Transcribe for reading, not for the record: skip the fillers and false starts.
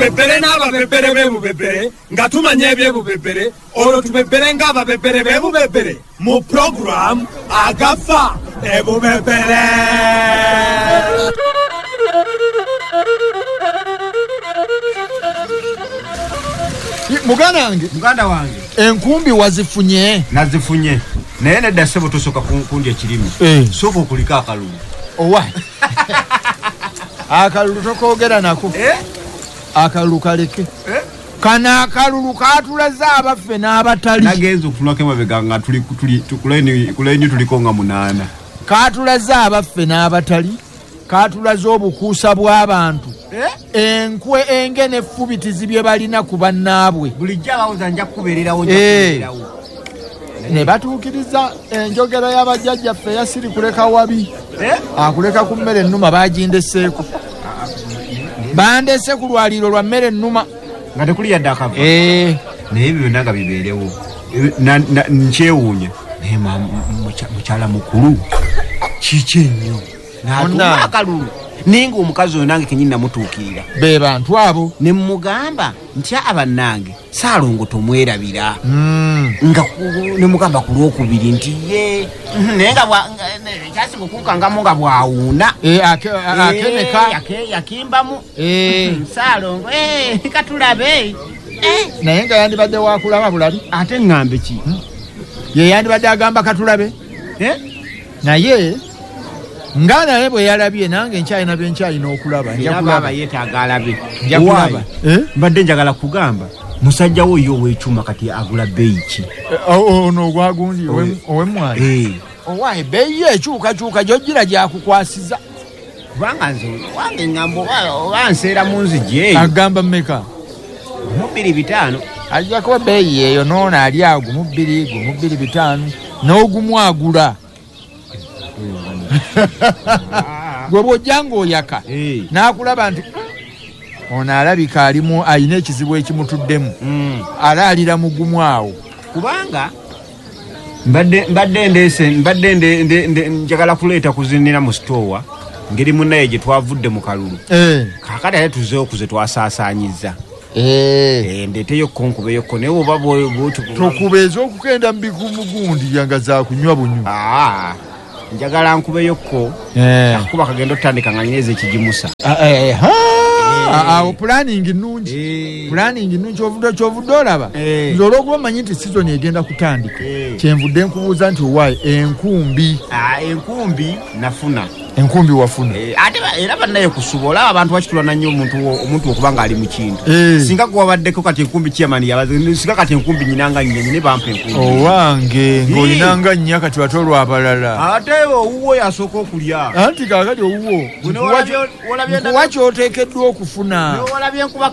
Tubebere n'ababebere b'ebubebere nga tumanya ebyebubebere, olwo tubebere ng'ababebere b'ebubebere mu puroguramu Agafa Ebubebere. Muganda wange, muganda wange, enkumbi wazifunye? Nazifunye, naye nedda ssebo, tosooka kundya ekirimi, sooka okulika akalulu. Owa akalulu tokoogera nako, akalulu kaleke. Kano akalulu katulaze abaffe n'abatali. Nagenza okutunulako emabega nga tuli ku layini tuliko nga 8. Katulaze abaffe n'abatali, katulaze obukuusa bw'abantu, enkwe enge n'effubitizi bye balina ku bannaabwe. Bulijjo abawoza nja kukubeererawo, nja kukubeererawo. Ne batuukiriza enjogera y'abajjajjaffe yasiri kuleka wabi, akuleka ku mmere ennuma. Bagindeseeko, bandese ku lwaliiro lwa mmere ennuma nga tekuli yadde akava. Naye ebyo byonna nga bibeerewo, nkyewuunya. Naye mukyala mukulu kiki ennyo n'atuuma akalulu, naye ng'omukazi oyo nange kenyini namutuukirira. Be bantu abo. Ne mugamba nti abannange Ssaalongo tomwerabira, nga ne mugamba ku lwokubiri nti ye, naye nga kyasinga okunkangamu nga bw'awuuna. Akeneka. Yakimbamu. Ssaalongo katulabe. Naye nga yandibadde wakulaba bulabi. Ate ŋŋambe ki? Ye yandibadde agamba katulabe. Naye nga naye bwe yalabye, nange nkyalina bye nkyalina okulaba. Nja kulaba. Yeetaaga alabe. Nja kulaba. Mbadde njagala kugamba musajja wo ye ow'ekyuma kati agula bbeeyi ki? Ono ogwagundi ow'emmwanyi. Owa ebbeeyi ye ekyukakyuka gy'ojjira gyakukwasiza. Kubanga nze wange ŋŋamba oba nseera mu nzigi eyo. Agamba mmeka? 2.5. Ajja kuba bbeeyi eyo n'ono ali ago mu 2, gumu 2.5 n'ogumu agula. Gwe bw'ojja ng'oyaka n'akulaba nti ono alabika alimu alina ekizibu ekimutuddemu, alaalira mugumu awo. Kubanga mbadde ndeese, mbadde njagala kuleeta kuzinira mu sitoowa ngeri munnaye gye twavudde mu kalulu. Kaakati ate tuzzeewo ku ze twasaasaanyizza. Ndeeteyo ko nkubeyokko, naye oba bw'otyo tokuba ez'okugenda mu bigumugundi nga za kunywa bunywi. Njagala nkubeyokko, akuba kagenda otandika nga nyina ekigimusa. Awo planning nnungi, planning nnungi. Kyovudde olaba nze olw'okuba mmanyi nti sizoni egenda kutandika, kyenvudde nkubuuza nti owaayi enkumbi. Enkumbi nafuna. Enkumbi wafuna. Ate era bannaye kusuba olaba abantu bakitulana nnyo omuntu okuba ng'ali mu kintu. Singa gwe wabaddeko kati enkumbi chairman yabaze, singa kati enkumbi nyinanga nnya ne bampa enkumbi. Owange ng'olinanga nnya kati ate olw'abalala. Ate owuwo yasooka okulya. Anti kaakati owuwo nkuwa ky'oteekeddwa okufuna. Newalabye enkuba.